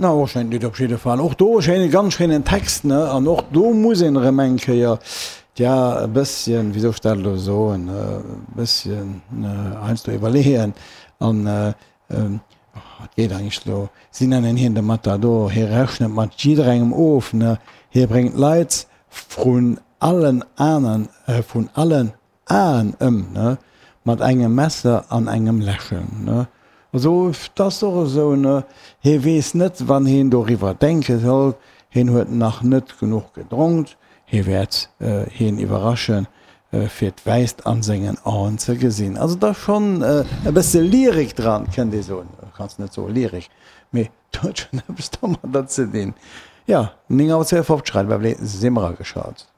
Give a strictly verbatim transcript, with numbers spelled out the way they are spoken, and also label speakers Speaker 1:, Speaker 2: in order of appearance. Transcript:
Speaker 1: Na, och schéint Lidd op jidde Fall. Och do schéine, ganz schéinen Text, ne? An och do muss een erëm eng Kéier, tja, e bësschen, wéi soll ech dat elo soen, e bësschen heiansdo iwwerleeën. An et geet eigentlech elo, si nennen hien de Matador, hie rechnet mat jidderengem of, ne? Hie bréngt d'Leit vrun allen aneren, vrun allen Aen ëm, ne? Mat engem Messer an engem Lächeln, ne? Also, 't ass och esou, ne? Hie weess net, wann hien doriwwer denke soll. Hien huet nach net genuch gedronkt. Hie wäert hien iwwerraschen, fir d'Wäisst an sengen Aen ze gesinn. Also, 't ass schonn e bësse Lyrik dran, kënnt ee soen. Kanns net soe Lyrik, mee 't huet schonn eppes domadder ze dinn. Jo, néng Auer zweeënfofzeg, Radio Beverly, si mer ageschalt.